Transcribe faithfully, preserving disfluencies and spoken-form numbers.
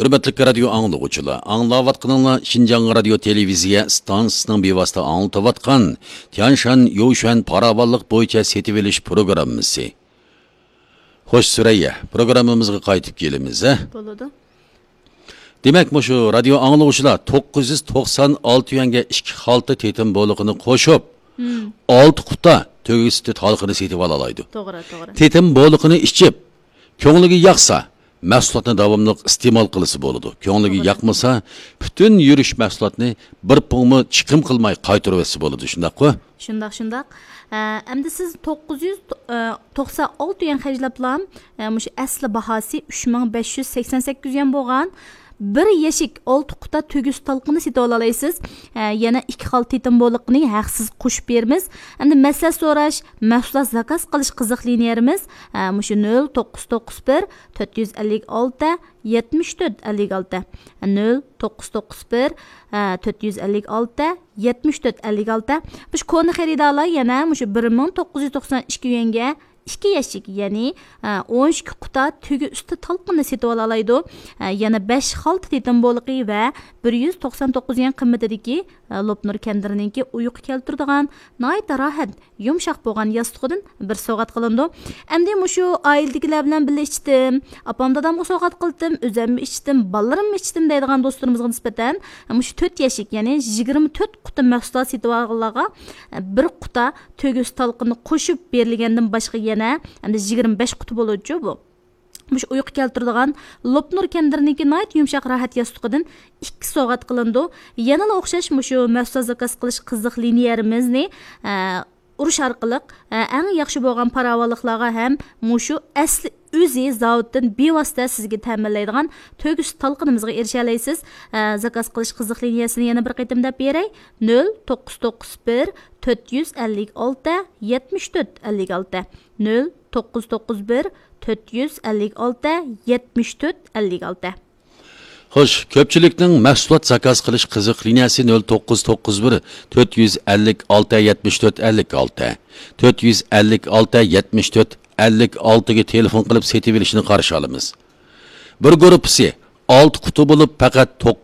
ھۆرمەتلىك رادىيو ئاڭلىغۇچىلار، ئاڭلاۋاتقىنىڭلار شىنجاڭ رادىيو تېلېۋىزىيە ئىستانسىسىنىڭ بىۋاسىتە ئاڭلىتىۋاتقان تيەنشان يوشۈەن پاراۋانلىق بويىچە سېتىۋېلىش پروگراممىسى. خوش، سۈرەييە، پروگراممىمىزغا قايتىپ كېلىمىز، ھە؟ بولىدۇ. دېمەك، مۇشۇ رادىيو ئاڭلىغۇچىلار توققۇز يۈز توقسان ئالتە يۈەنگە ئىككى خالتا تېتىم بولىقىنى قوشۇپ، مم. ئالتە قۇتا تۆگە سۈتى تالقىنى سېتىۋالالايدۇ. توغرا، توغرا. تېتىم بولىقىنى ئىچىپ، كۆڭلىگە ياقسا، مەھسۇلاتنى داۋاملىق ئىستېمال قىلسا بولىدۇ. كۆڭلىگە توغرا. ياقمىسا، پۈتۈن يۈرۈش مەھسۇلاتنى بىر پۇڭمۇ چىقىم قىلماي قايتۇرۇۋەتسە بولىدۇ، شۇنداققۇ؟ شۇنداق، شۇنداق. ئە، ئەمدى سىز توققۇز يۈز توقسان ئالتە يۈەن خەجلەپلا، ئە، مۇشۇ ئەسلى باھاسى ئۈچ مىڭ بەش يۈز سەكسەن سەككىز يۈەن بولغان بىر يەشىك ئالتە قۇتا تۆگە سۈتى تالقىنى سېتىۋالالايسىز. ئە، يەنە ئىككى خالتا تېتىم بولىقىنى ھەقسىز قوشۇپ بېرىمىز. ئەمدى مەسلىھەت سوراش، مەھسۇلات زاكاز قىلىش قىزىق لىنىيەلىرىمىز، ئە، مۇشۇ نۆل توققۇز توققۇز بىر، تۆت يۈز ئەللىك ئالتە، يەتمىش تۆت ئەللىك ئالتە، نۆل توققۇز توققۇز بىر، تۆت يۈز ئەللىك ئالتە، يەتمىش تۆت ئەللىك ئالتە. مۇشۇ كونا خېرىدارلار يەنە مۇشۇ بىر مىڭ توققۇز يۈز توقسان ئىككى يۈەنگە ئىككى يەشىك، يەنى، ئون ئىككى قۇتا تۆگە ئۈستى تالقىنىنى سېتىۋالالايدۇ. يەنە بەش خالتا تېتىم بولىقى ۋە بىر يۈز توقسان توققۇز يۈەن قىممىتىدىكى، لوپنۇر كەندىرىنىڭكى ئۇيقۇ كەلتۈرىدىغان ناھايىتى راھەت يۇمشاق بولغان ياستۇقىدىن بىر سوۋغات قىلىنىدۇ. ئەمدى مۇشۇ ئائىلىدىكىلەر بىلەن بىللە ئىچتىم، ئاپام دادامغا سوۋغات قىلدىم، ئۆزۈممۇ ئىچتىم، بالىلىرىممۇ ئىچتىم دەيدىغان دوستلىرىمىزغا نىسبەتەن مۇشۇ تۆت يەشىك، يەنى يىگىرمە تۆت قۇتا مەھسۇلات سېتىۋالغانلارغا بىر قۇتا تۆگە سۈتى تالقىنى قوشۇپ بېرىلگەندىن باشقا يەنە ئەمدى يىگىرمە بەش قۇتا بولىدۇ بۇ. مۇشۇ ئۇيقۇ كەلتۈرىدىغان لوپنۇر كەندىرىنىڭكى ناھايىتى يۇمشاق راھەت ياستۇقىدىن ئىككى سوۋغات قىلىنىدۇ. يەنىلا ئوخشاش مۇشۇ مەھسۇلات زاكاز قىلىش قىزىق لىنىيەلىرىمىزنى، ئە، ئۇرۇش ئارقىلىق، ئە، ئەڭ ياخشى بولغان پاراۋانلىقلارغا ھەم مۇشۇ ئەسلى ئۆزى زاۋۇتتىن بىۋاسىتە سىزگە تەمىنلەيدىغان تۆگە سۈتى تالقىنىمىزغا ئېرىشەلەيسىز. ئە، زاكاز قىلىش قىزىق لىنىيەسىنى يەنە بىر قېتىم دەپ بېرەي. نۆل توققۇز توققۇز بىر، تۆت يۈز ئەللىك ئالتە، يەتمىش تۆت ئەللىك ئالتە. نۆل توققۇز توققۇز بىر، تۆت يۈز ئەللىك ئالتە، يەتمىش تۆت ئەللىك ئالتە. خوش، كۆپچىلىكنىڭ مەھسۇلات زاكاز قىلىش قىزىق لىنىيەسى نۆل توققۇز توققۇز بىر، تۆت يۈز ئەللىك ئالتە، يەتمىش تۆت ئەللىك ئالتە، تۆت يۈز ئەللىك ئالتە، يەتمىش تۆت ئەللىك ئالتىگە تېلېفون قىلىپ سېتىۋېلىشنى قارشى ئالىمىز. بىر گۇرۇپپىسى ئالتە قۇتا بولۇپ، پەقەت توققۇز